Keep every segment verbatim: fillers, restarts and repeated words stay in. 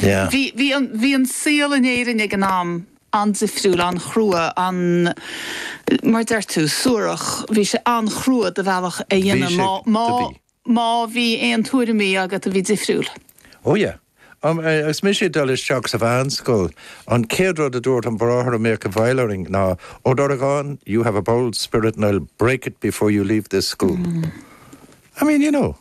Yeah. Bhí bhí an bhí an saol in Éirinn ag an am an-difriúil an-chrua an mar deir tú suarach bhí sé an-chrua do bhealach a dhéanamh sé má má do bhí. má bhí aon tuairimí agat a bhí difriúil. Oh yeah. Um, uh, agus mise ag dul isteach sa mheánscoil an chéad rud a dúirt an bráthair a mbíodh i bhfeighil orainn ná Ó Donnchadha, you have a bold spirit and I'll break it before you leave this school. Mm. I mean, you know,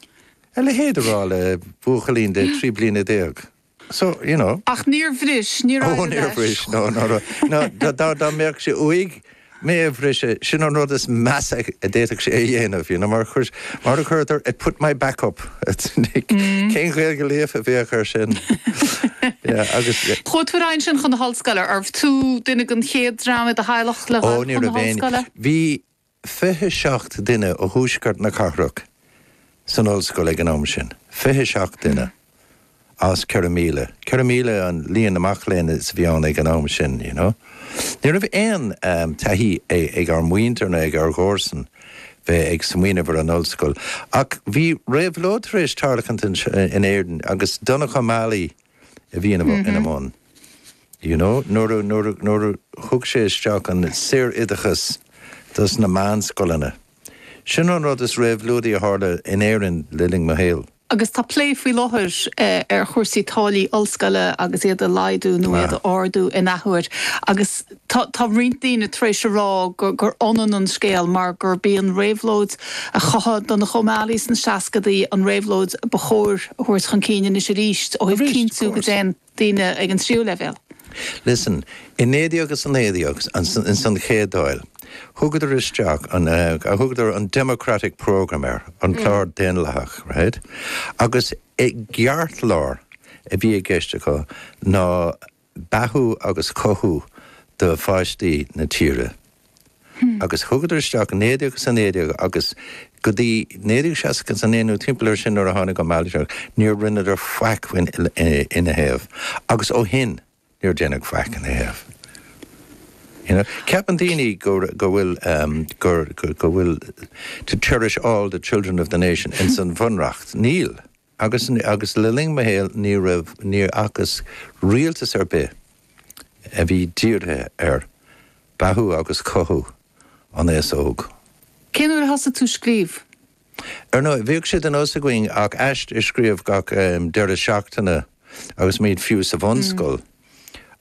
a leithéid a rá le buachaillín de trí bliana déag. So, you know. Ach níor bhris níor Oh, níor bhris no no no no dá dá dá mbeadh sé uaidh mé a bhriseadh sin an rud is measa a d'fhéadfadh sé a dhéanamh you know, mar chuir mar a chuirtear it put my back up mm. Cén Ghaeilge líofa a bheadh air sin yeah, agus Chuaigh tú ansin chun na hollscoile arbh tú duine den chéad dream i do theaghlach le Ó ní chun na raibh aon hollscoile? Bhí fiche seacht duine ó thuaisceart na cathrach san ollscoil ag an am sin. Fiche seacht duine as ceithre míle. Ceithre míle an líon na mac léinn is bhí ann ag an am sin, you know. Ní raibh aon um, taithí ag ár muintir ná ag ár gcomharsain bheith ag smaoineamh ar an ollscoil. Ach bhí réabhlóid tar éis tarlúint in Éirinn agus Donnchadh Ó Málaí a bhí ina mm -hmm. ina mbun. You know, nuair nuair nuair thug sé isteach an saoroideachas dos na meánscoileanna. Sin an rud is réabhlóidí a tharla in Éirinn le linn mo shaoil. Agus tá plé faoi láthair eh, ar chúrsaí táillí ollscoile agus iad a laghdú nó iad a ardú in athuair. Agus tá tá roinnt daoine tar éis a rá gur gur ionann an scéal mar gurb í an réabhlóid a chothaigh Donnchadh Ó Málaí sna seascadaí an réabhlóid ba chóir a thabhairt chun cinn anois arís ó thaobh cinntiú go dtéann daoine ag an tríú leibhéal. Listen, in naoi déag agus a naoi déag in san chéad Dáil. Thugadar isteach an uh, a thugadar an Democratic Program air an clár mm. daonlathach, right? Agus i gceartlár a bhí i gceist acu ná beathú agus cothú do pháistí na tíre. Hmm. Agus thugadar isteach naoi déag agus a naoi déag agus go dtí naoi déag seasca a naoi nó timpeall sin nuair a tháinig an Málaí níor rinneadar faic ina thaobh. Agus ó shin níor déanadh faic ina thaobh. You know, Ceapann daoine go go bhfuil um, go, go, go bhfuil to cherish all the children of the nation in san bhunreacht. Níl. Agus, agus le linn mo shaoil ní raibh ní fhacas rialtas ar bith a bhí dírithe ar beathú agus cothú an aos óg. Cén uair a thosaigh tú scríobh? Ar nó bhíodh sé de nós againn ach aiste a scríobh gach um, deireadh seachtaine agus muid fiú sa bhunscoil. Mm.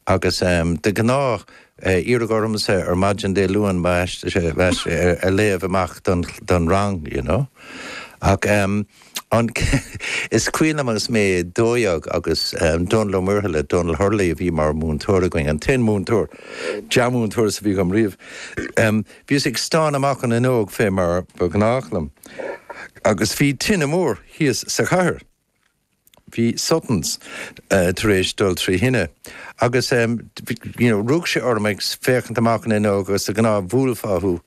Agus um, de ghnáth uh, iarradh ormsa ar maidin Dé Luain a léamh amach don, don rang, you know. Ach um, an is cuimhin liom agus mé dó dhéag agus um, Donal Ó Muirthile Donal Hurley a bhí mar mhúinteoir againn an t-aon mhúinteoir dea-mhúinteoir a bhí agam riamh. Um, Bhíos ag stánadh amach an fhuinneog fé mar ba ghnách liom. Agus bhí tine mór thíos sa chathair. Bhí Suttons uh, tar éis dul trí thine. Agus um, you know, rug sé orm ag féachaint amach an fhuinneog agus a gná bhúlfáthú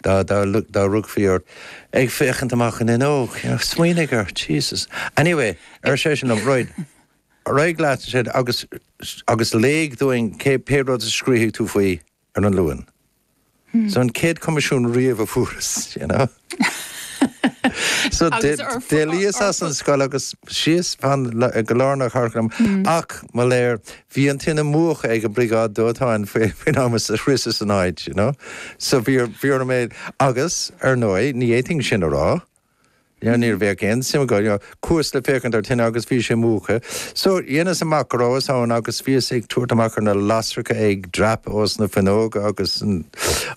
dá dá dá rugfaí ort ag féachaint amach an fhuinneog, you know, smaoinigh air Jesus. Anyway, ar sé sin an right. Réig leat sé agus agus léigh dúinn cé pé rud a scríobhfaidh tú faoi ar an Luan. Hmm. So an chéad choimisiún riamh a fuaireas, you know. So d'éalaíos as an scoil agus síos fan go lár na cathrach mm. ach mo léir bhí an tine múchta ag an briogáid dóiteáin faoin am a shroicheas an áit, you know? So bhí bhí mé agus ar ndóigh ní fhéadfainn sin a rá. Ja, ní bheadh aon suim go cuas le féachaint ar tine agus bhí sé múchta. So dhéanas amach go rabhas ann agus bhíos ag tabhairt amach ar na lasracha ag dreapadh os na fuinneoga agus an,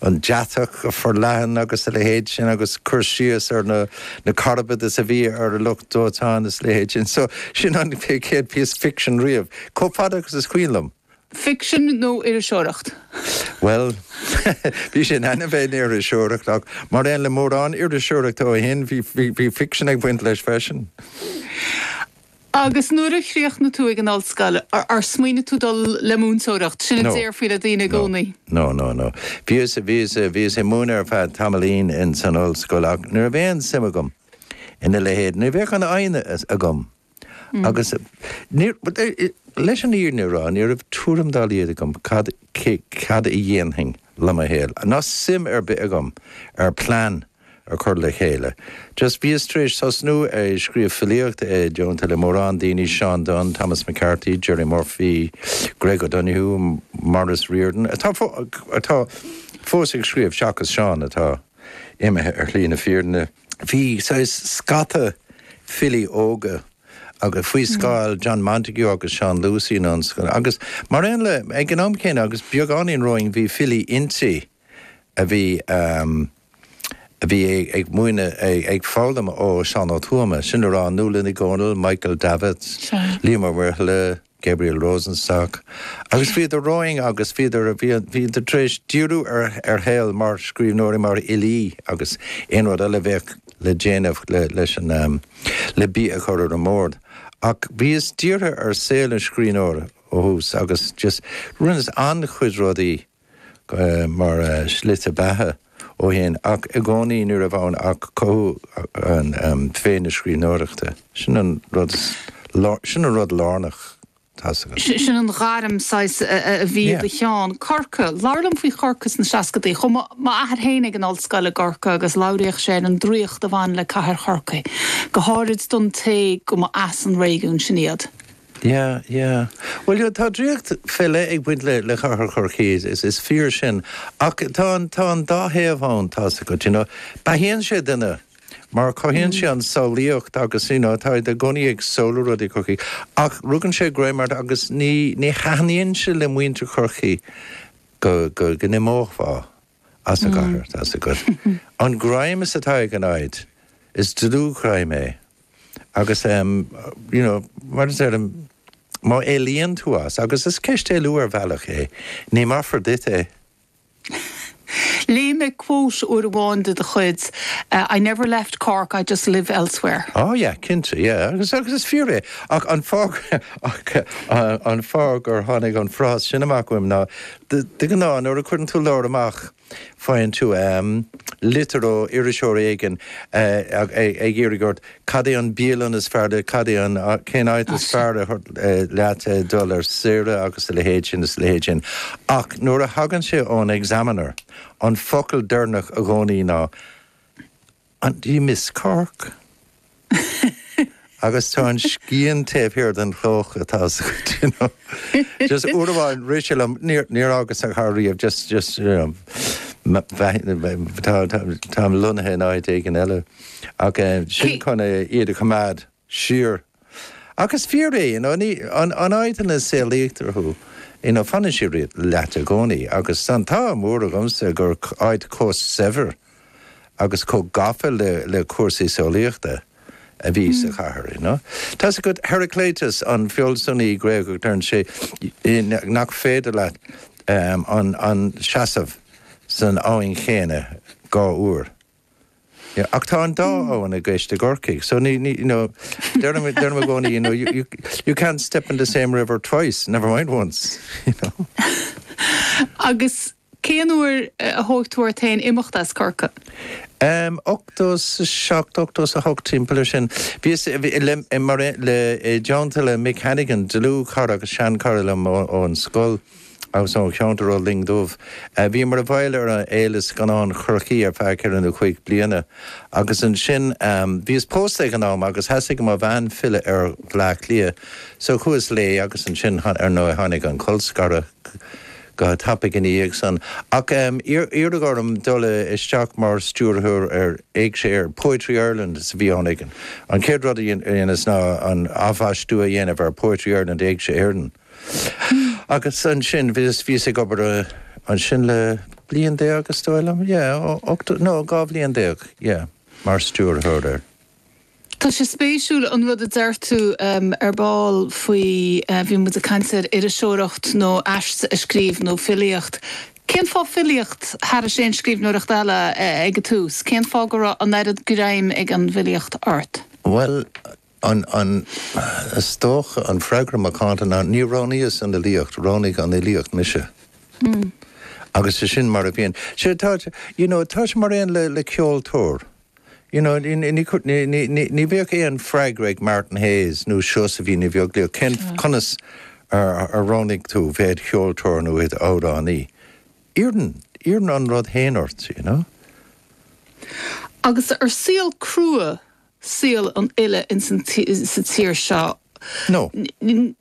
an deatach forleathan agus a leithéid sin agus cur síos ar na, na carbaid is a bhí ar a lucht dóiteáin is leithéid sin. So sin an chéad piece fiction riamh. Chomh fada agus is cuimhin liom. Fiction nó iriseoireacht? Well, bhí sé in ainm bheith iriseoireacht ach mar aon le mórán iriseoireacht ó shin bhí fiction ag baint leis freisin. Agus nuair a chríochnaigh tú ag an ollscoil ar smaoinigh tú dul le múinteoireacht sin a déarfaí le daoine i gcónaí. No, no, no. Bhíos bhíos bhíos ag múineadh ar feadh tamaillín in san ollscoil ach ní raibh aon suim agam ina leithéid, ní bheadh an fhoighne agam. Mm. Agus leis an fhírinne a rá ní raibh tuairim dá laghad agam cad cad a dhéanfainn le mo shaol. Ná suim ar bith agam ar plean a chur le chéile. Just bhíos tar éis tosnú ag scríobh filíocht i dteannta le mórán daoine Seán Dunne, Thomas McCarthy, Jerry Murphy, Greg O'Donoghue, Maurice Riordan, atá atá fós ag scríobh seachas Seán atá imithe ar shlí na fírinne. Bhí scata filí óga agus faoi scáil John Montague agus Seán Lucey an agus mar aon le ag an am céanna agus beagáinín romhainn bhí filí innti a bhí um, a bhí ag múineadh ag foghlaim ó Seán Ó Tuama, sin rá Nuala Ní Dhomhnaill, Michael Davitt, Liam Ó Muirthile, Gabriel Rosenstock. Agus bhíodar romhainn agus bhíodar bhíodar tar éis díriú ar ar shaol mar scríbhneoirí mar fhilí agus aon rud eile bheadh le déanamh le leis an um, le bia a chur ar an mbord. Ach bhíos dírithe ar saol an scríbhneora ó thús agus just rinneas an-chuid rudaí uh, mar uh, slite beatha ó shin ach i gcónaí ní raibh ann ach cothú an um, féin na scríbhneoireachta. Sin an rud sin an rud lárnach. Sin an ghairm saghas a bhí i do cheann. Corcaigh, labhair liom faoi Chorcaigh sna seascadaí, Chuaigh m'athair féin ag an ollscoil i gCorcaigh agus labhraíodh sé an draíocht a bhain le cathair Chorcaí. Go háirid don té go mba as an réigiún sin iad. Yeah, yeah. Well yeah, tá draíocht faoi leith ag baint le le cathair Chorcaí is is fíor sin ach tá an tá an dá thaobh ann tá go you know beathaíonn sé duine mar cothaíonn sé an samhlaíocht agus you know, tá i gcónaí ag samhlú rudaí Chorcaí ach rugann sé greim ort agus ní ní thaitníonn sé le muintir Chorcaí go go go n-imeofá as an gcathair tá go. An greim is atá ag an áit is dlúthghreim é. Agus um, you know, mar is um, má éalaíonn tú as, agus is ceist éalú ar bhealach é, ní maithfear duit é. Léigh mé quote uair amháin de do chuid uh, I never left Cork, I just live elsewhere. Oh yeah, cinnte, yeah. Agus agus is fíor é ach an fáth ach uh, an fáth gur tháinig an frás sin amach uaim ná de ghnáth nuair a chuireann tú leabhar amach faigheann tú um, litir ó iriseoir éigin uh, ag iarraidh ort cad é an bialann is fearr cad é an cén áit is fearr leat dul ar saoire agus a leithéid sin is leithéid sin. Ach nuair a thagann sé ón Examiner, an focal deireanach i gcónaí ná an do you miss Cork? Agus tá an scian taobh thiar den chloch atá you know. Just uair amháin rith sé liom níor fhágas an chathair riamh just just you know, Táim lonnaithe in áit éigin eile ach sin chun iad a choimeád siar. Agus fíor é an áit ina saolaítear thú. ina fanann sé leat i gcónaí, agus an t-ádh mór agamsa gur áit chomh saibhir agus chomh gafa le le cúrsaí samhlaíochta a bhí sa chathair. You know? Tá go Heraclitus an fealsúnaí Gréagach deireann sé nach féidir leat um, an, an seasamh san abhainn chéanna dhá uair. Yeah, ach tá an dá abhainn i gceist i gCorcaigh, so ní, ní, you know, deirim i gcónaí, you know, you, you, you can't step in the same river twice, never mind once. You know. Agus cén uair a thóg tú ort féin imeacht as Corcaigh? Um, ochtó seacht ochtó a hocht timpeall sin. Bhí le mar le dteannta le Mick Hannigan, dlúthchara agus seanchara liom ón scoil. Agus ón cheantar ó Linn Dubh. Bhí mar a bhaill ar an Fhéile Scannán Chorcaí ar feadh ceithre nó cúig bliana. Agus ansin bhíos pósta ag an am agus theastaigh ó mo bhean filleadh ar Bhleá Cliath. So chuas léi agus ansin ar ndóigh tháinig an colscaradh go tapaidh ina dhiaidh san. Ach iarradh orm dul isteach mar stiúrthóir ar Éigse Éireann, Poetry Ireland is a bhí ann ag an. An chéad rud a dhéanas ná an athbhaistiú a dhéanamh ar Poetry Ireland Éigse Éireann. Agus ansin bhíos bhíos ag obair ansin le bliain déag is dóigh liom, yeah, ocht, no, dhá bhliain déag, yeah, mar stiúrthóir air. Tá sé spéisiúil an rud a deir tú um, ar ball faoi uh, bhí muid ag caint ar iriseoireacht nó aiste a scríobh nó filíocht. Cén fáth filíocht thar aon scríbhneoireacht eile uh, ag an tús? Cén fáth go raibh an oiread greim ag an bhfilíocht ort? Well, an, an, is dócha an freagra macánta ná ní roghnaíos an fhilíocht, roghnaigh an fhilíocht mise. Mm. Agus is sin mar a bhíonn. Sé tá, you know, tá sé mar aon le, le ceoltóir. You know, ní, ní, ní, ní, ní bheadh aon freagra ag Martin Hayes nó Seosaimhín Ní Bheaglaoich cén conas ar, ar roghnaigh tú bheith i do cheoltóir nó i d'amhránaí. Iarrann, iarrann an rud féin ort, you know? Agus ar saol crua saol an fhile in sa tír seo. No.